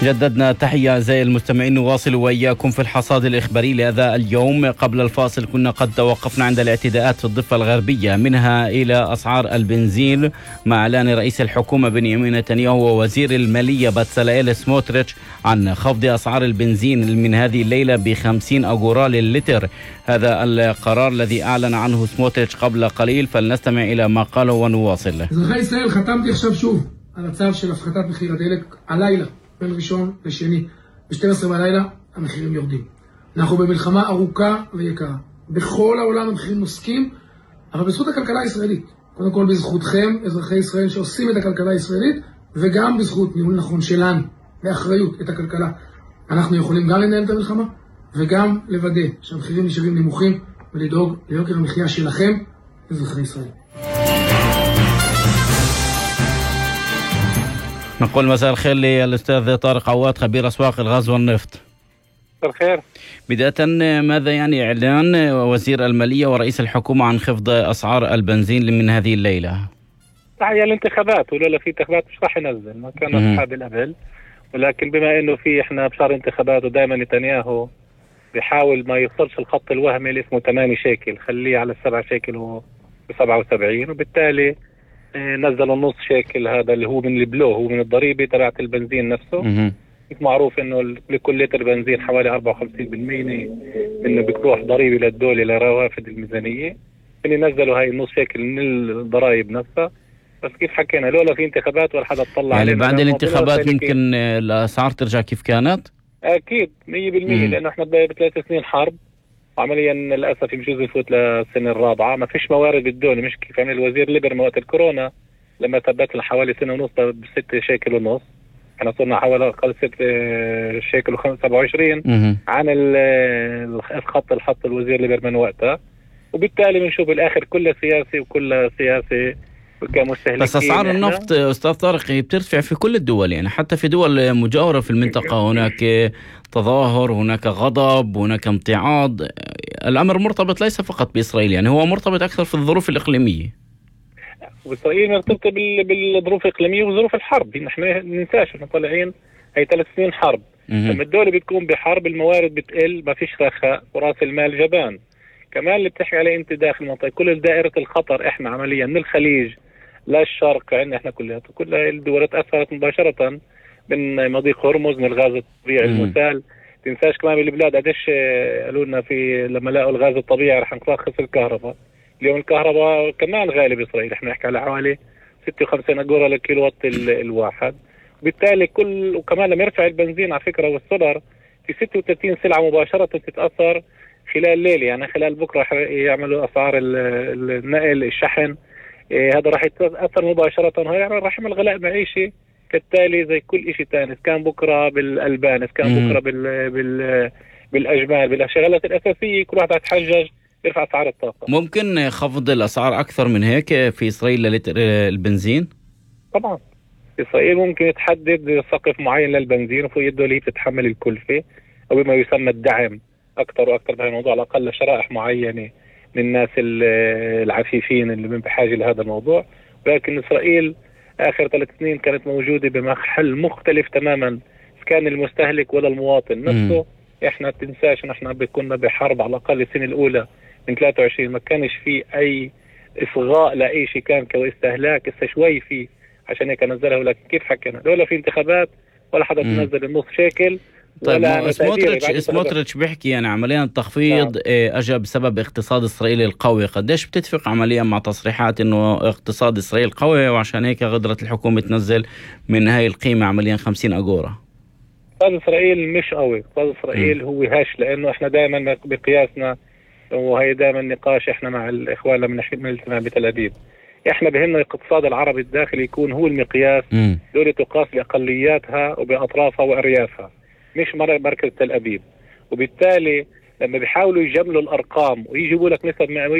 جددنا تحية أعزائي المستمعين، نواصل وإياكم في الحصاد الإخباري لهذا اليوم. قبل الفاصل كنا قد توقفنا عند الاعتداءات في الضفة الغربية، منها إلى أسعار البنزين مع إعلان رئيس الحكومة بنيامين نتنياهو ووزير المالية باتسالائيل سموتريتش عن خفض أسعار البنزين من هذه الليلة ب50 أغورا للتر. هذا القرار الذي أعلن عنه سموتريتش قبل قليل، فلنستمع إلى ما قاله ونواصل. אזרחי ישראל, חתמתי עכשיו שוב על הצו של הפחתת מחיר הדלק הלילה, בין ראשון לשני, ב-12 בלילה המחירים יורדים. אנחנו במלחמה ארוכה ויקרה. בכל העולם המחירים נוסקים, אבל בזכות הכלכלה הישראלית. קודם כל בזכותכם, אזרחי ישראל שעושים את הכלכלה הישראלית, וגם בזכות ניהול נכון שלנו, באחריות את הכלכלה. אנחנו יכולים גם לנהל את המלחמה, וגם לוודא שהמחירים נשארים נמוכים, ולדאוג ליוקר המחיה שלכם, אזרחי ישראל. نقول مساء الخير للأستاذ طارق عواد، خبير أسواق الغاز والنفط. الخير. بداية، ماذا يعني إعلان وزير المالية ورئيس الحكومة عن خفض أسعار البنزين من هذه الليلة؟ هي الانتخابات، ولولا في انتخابات مش راح ينزل، ما كان أصحاب القبل، ولكن بما إنه في إحنا بشهر انتخابات ودائما نتنياهو بيحاول ما يوصلش الخط الوهمي اللي اسمه 8 شيكل، خليه على 7 شيكل و77، وبالتالي نزلوا النص شيكل، هذا اللي هو من البلو، هو من الضريبة تبعت البنزين نفسه. معروف انه لكل لتر بنزين حوالي 54% انه بتروح ضريبة للدولة لروافد الميزانية. نزلوا هاي النص شيكل من الضرائب نفسها. بس كيف حكينا، لولا في انتخابات ولا حدا طلع يعني بعد الانتخابات ممكن الأسعار ترجع كيف كانت؟ اكيد 100%، لانه احنا ب3 سنين حرب، وعمليا للاسف يجوز يفوت للسنه الرابعه، ما فيش موارد بالدولة. مش كيف عمل الوزير ليبرمان وقت الكورونا لما ثبت لنا حوالي سنه ونص ب6 شيكل ونص، احنا صرنا حوالي اقل 6 شيكل و27 عن الخط اللي حط الوزير ليبرمان وقتها. وبالتالي بنشوف بالاخر كل سياسه كمستهلكين. بس اسعار النفط استاذ طارق بترتفع في كل الدول، يعني حتى في دول مجاورة في المنطقة هناك تظاهر، هناك غضب، هناك امتعاض. الامر مرتبط ليس فقط باسرائيل، يعني هو مرتبط اكثر في الظروف الاقليمية. واسرائيل مرتبطة بالظروف الاقليمية وظروف الحرب. نحن ما ننساش احنا طالعين هي 3 سنين حرب. لما الدولة بتكون بحرب الموارد بتقل، ما فيش رخاء، وراس المال جبان. كمان اللي بتحكي عليه انت داخل المنطقة، كل دائرة الخطر احنا عمليا من الخليج للشرق عندنا احنا كل الدول تأثرت مباشرة من مضيق هرمز، من الغاز الطبيعي المسال. تنساش كمان بالبلاد قديش قالوا لنا في لما لقوا الغاز الطبيعي رح نرخص الكهرباء. اليوم الكهرباء كمان غالي بإسرائيل، احنا نحكي على حوالي 56 أغورا للكيلو وات الواحد. بالتالي وكمان لما يرفع البنزين على فكرة والسولار في 36 سلعة مباشرة تتأثر خلال ليلة، يعني خلال بكرة رح يعملوا أسعار النقل الشحن، هذا راح يتأثر مباشرة، وهي راح يعمل غلاء معيشي كالتالي زي كل شيء ثاني، إذا كان بكرة بالألبان، إذا كان بكرة بالأجمال، بالشغلات الأساسية، كل واحد يتحجج يرفع أسعار الطاقة. ممكن خفض الأسعار أكثر من هيك في إسرائيل لتر البنزين؟ طبعا إسرائيل ممكن تحدد سقف معين للبنزين، وفوق الدولة هي بتتحمل الكلفة أو بما يسمى الدعم أكثر وأكثر بهذا الموضوع، على الأقل لشرائح معينة من الناس العفيفين اللي من بحاجة لهذا الموضوع. ولكن إسرائيل آخر 3 سنين كانت موجودة بمحل مختلف تماما، كان المستهلك ولا المواطن نفسه. إحنا تنساش نحن كنا بحرب على الأقل السنة الأولى من 23 ما كانش فيه أي إصغاء لأي شيء، كان كاستهلاك إسا شوي فيه، عشان هيك نزلها. ولكن كيف حكينا، لولا في انتخابات ولا حدا تنزل النص شيكل. طيب سموتريتش بيحكي يعني عمليا التخفيض اجى بسبب اقتصاد اسرائيل القوي. قديش بتتفق عمليا مع تصريحات انه اقتصاد اسرائيل قوي وعشان هيك قدرت الحكومة تنزل من هاي القيمة عمليا 50 أغورا؟ اقتصاد اسرائيل مش قوي، اقتصاد اسرائيل هو هش، لانه احنا دائما بقياسنا، وهي دائما نقاش احنا مع الاخوان لما نحكي من الاجتماع بتل أبيب، احنا بهمنا الاقتصاد العربي الداخلي يكون هو المقياس. دولة تقاس باقلياتها وباطرافها واريافها، مش مركز تل أبيب. وبالتالي لما بيحاولوا يجملوا الارقام ويجيبوا لك نسب مئوية